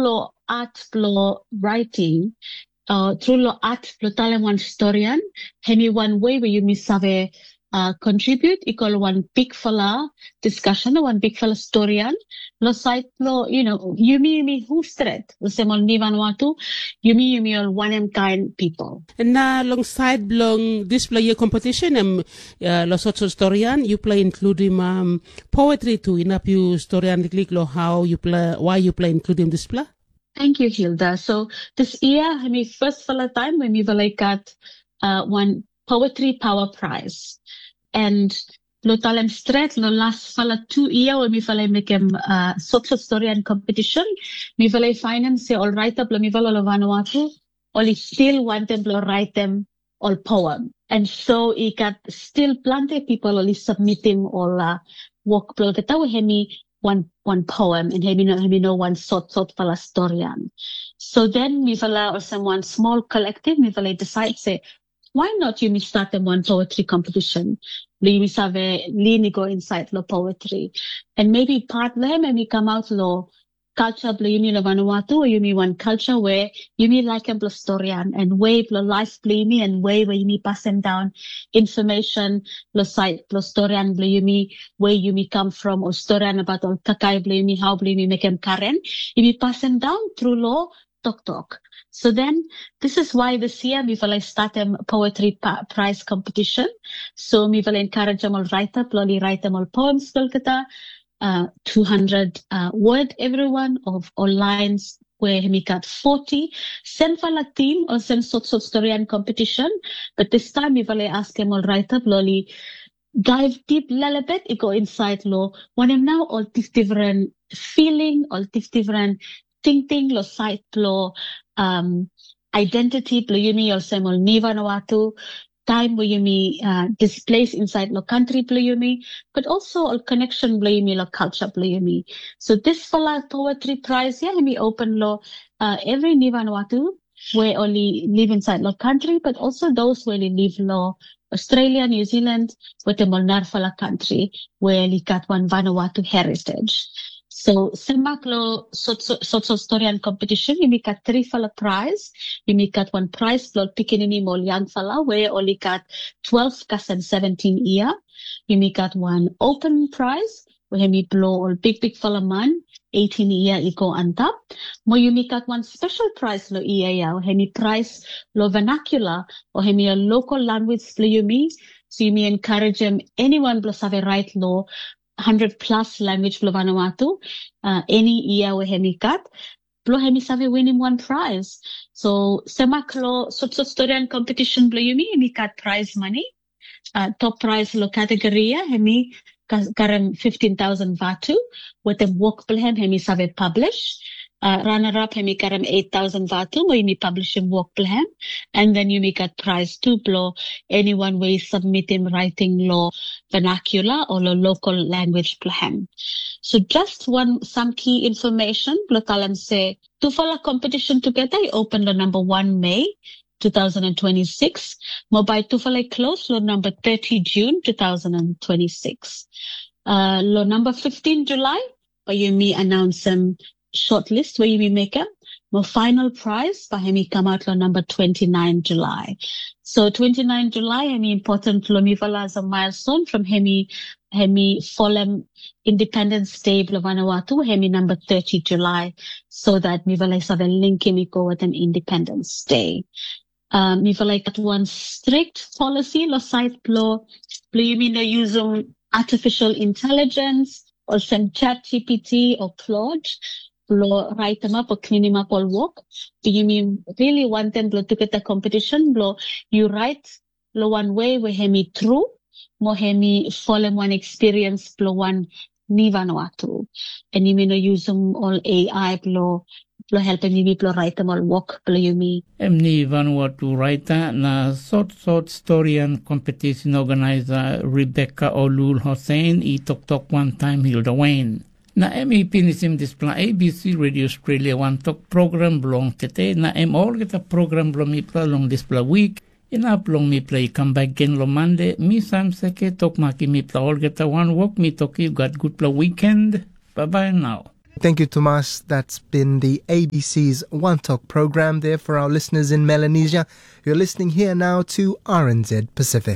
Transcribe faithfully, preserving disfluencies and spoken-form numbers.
Lo art blo raeting, tru lo art blo talem wan storian, hemi wan wei we yumi save kontribiut i go lo wan bigfala diskasen o wan bigfala storian lo saed blo yumi yumi hu stret olsem ol nivanua tu, yumi yumi ol wanem kaen pipol. Na long saed blong dispela yia kompetisen em, lo sotsot storian yupela inkludim poetri tu, inap yu storian liklik lo hau yupela, wai yupela inkludim dispela? Thank you, Hilda. So this year, hemi first fala time we mi vala i gat uh, one poetry power prize. And lo talem stret, lo las fala tu ia we mi vala i mekem uh, sotsot storian competition, mi vala i fainem se ol raita blo mi vala lo Vanuatu, oli still wantem blo raetem ol poem. And so i gat still plante pipol oli submitim ol uh, wok blo olgeta we hemi wan wan poem and hemi no hemi no wan sot sot fala storian. So then mi fala olsem wan small collective mi fala decide se why not yumi statem wan poetry competition blo yumi save lini go inside lo poetry. And maybe part lo hem hemi come out lo culture blo yumi lo Vanuatu, yumi wan culture we yumi laikim blo storian and way blo life blo yumi and way we yumi pasim down information lo side blo storian blo yumi, where yumi come from, o storian about ol kakai blo yumi, how blo yumi mekem karen, yumi pasim down through lo toktok. So then this is why this year mi fala statem poetry prize competition. So mi fala encouragem ol writer blo oli writeem ol poems blo olgeta, uh, two hundred uh, word everyone of ol lines we hemi gat forty, sen fala tim o sen sotsot storian competition. But this time mi fala askem ol writer blo oli dive deep lelebet i go inside lo wanem nao ol difdifren feeling, ol difdifren tingting lo side blo um, identity blo yumi olsem ol nivanua tu, time we yumi uh, displace inside lo country blo yumi, but also ol connection blo yumi lo culture blo yumi. So this fala poetry prize ia hemi open lo uh, every nivanua tu we oli live inside lo country, but also those we oli live lo Australia, New Zealand, wetem ol narafala country we oli gat wan Vanuatu heritage. So semak lo sotsot storian competition yumi gat trifala prize. Yumi gat wan prize blo ol pikinini mo ol yangfala we oli gat twelve kasem seventeen ia. Yumi gat wan open prize we hemi blo ol bigbigfala man eighteen ia i go antap. Mo yumi gat wan special prize lo ia ia we hemi prize lo vernacular o hemi a local language blo yumi. So yumi encouragem anyone blo save write lo hundred plus language blo Vanuatu uh, any ia we hemi gat blo hemi save winim wan prize. So semak lo sotsot storian competition blo yumi hemi gat prize money. Uh, top prize lo category ia hemi karem fifteen thousand vatu wetem wok blo hem hemi save publish. Uh, runner up hemi karem eight thousand vatu mo yumi publishim wok blo hem. And then yumi gat prize tu blo anyone we i submitim writing lo vernacular o lo local language blo hem. So just wan sam key information blo talem se tufala competition tugeta i open lo namba wan Mei two thousand and twenty-six, mo bae tufala i close lo namba thirty June two thousand and twenty-six. Uh, lo namba fifteen July bae yumi announce em shortlist we yumi mekem, mo final prize bae hemi kamaot lo namba twenty-nine July. So twenty-nine July hemi important lo mifala as a milestone from hemi hemi folem Independence Day blo Vanuatu hemi namba thirty July, so that mifala i save linkim i go wetem Independence Day. Uh, mifala i gat wan strict policy lo side blo blo yumi no yusum artificial intelligence olsem ChatGPT o Claude blo writeem ap o klinim ap ol wok. Blo yumi really wantem blo tugeta competition blo yu write lo wan wei we hemi tru mo hemi folem wan experience blo wan nivanua tu. And yumi no yusum ol AI blo blo helpem yumi blo writeem ol wok blo yumi. Em nivanua tu writer na sotsot storian competition organizer Rebecca Olul Hossein i toktok wantaem Hilda Wayne. Na em i pinisim dispela A B C Radio Australia wantok program bilong tete, na em olgeta program bilong mipela long dispela wik. Inap long mipela i kam bek gen long Mande, mi Sam Seke tok makim mipela olgeta wanwok, mi tok yu gat gutpela wiken. Bye bye now. Thank you, Tomas. That's been the A B C's One Talk program there for our listeners in Melanesia. You're listening here now to R N Z Pacific.